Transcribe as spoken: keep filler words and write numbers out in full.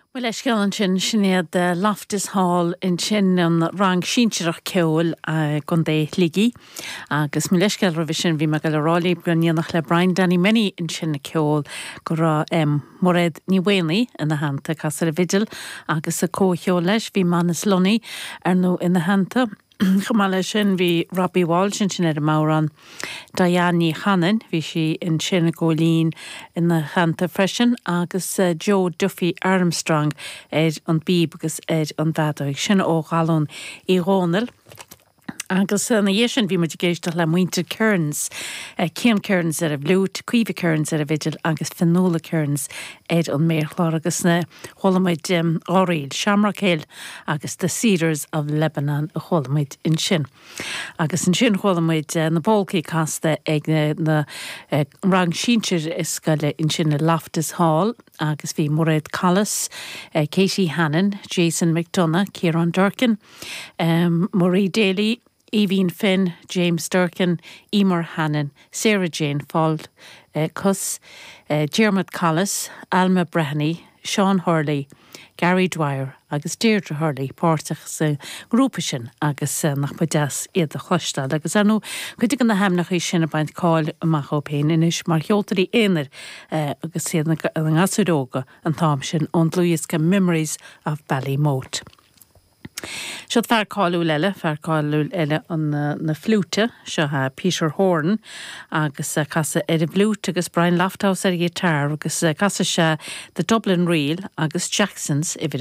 Mo leithscéal ansin sin iad Loftus Hall ansin an rang sinsearach ceoil i gContae Shligigh agus mo leithscéal roimhe sin bhí mé ag rá libh go ndéanfadh le Brian Danny Menny ansin ceol go raibh um, Mairéad Ní Mhaonaigh ina theannta ag casadh ar an bhfidil agus sa comhcheol leis bhí Manus Lunny ar ndóigh ina theannta. Chomh maith leis sin bhí Robbie Walsh ansin ar an mbodhrán Diane Ní Chanainn, bhí sí ansin i gcóilín ina theannta freisin agus uh, Joe Duffy Armstrong ar an bpíb agus ar an bhfeadóig sin ó Ghalún Uí Dhónaill. Agus ina dhiaidh sin bhí muid ag éisteacht le muintir Kearns, uh, Cian Kearns ar an bhfliúit, Caoimhe Kearns ar an bhfidil agus Fionnuala Kearns ar an méarchlár agus na chuala muid um, dhá ríl, Shamrock Hill agus The Cedars of Lebanon a chuala muid ansin. Agus ansin chuala muid uh, na polcaí casta ag na, na uh, rang sinsir i scoile ansin i Loftus Hall agus bhí Mairéad Collis, uh, Katie Hannon, Jason McDonough, Kieran Durkin, um, Marie Daly, Eveen Finn, James Durkin, Emer Hannon, Sarah Jane Fall, uh, Cus, uh, Dermot Collis, Alma Breheny, Sean Hurley, Gary Dwyer agus Deirdre Hurley páirteach sa grúpa sin agus uh, nach ba deas iad a chloisteáil agus ar ndóigh cuid de na hainmneacha sin ag baint cáil amach dóibh féin anois mar cheoltóirí aonair uh, agus iad na gasúir óga an t-am sin ón dlúthdhiosca Memories of Ballymote. Seo fear cáiliúil eile fear cáiliúil eile an na, na fliúite seo uh, Peter Horn agus uh, casadh ar an bhfliúit agus Brian Lofthouse ar guitar agus uh, casadh sé The Dublin Reel agus Jackson's uimhir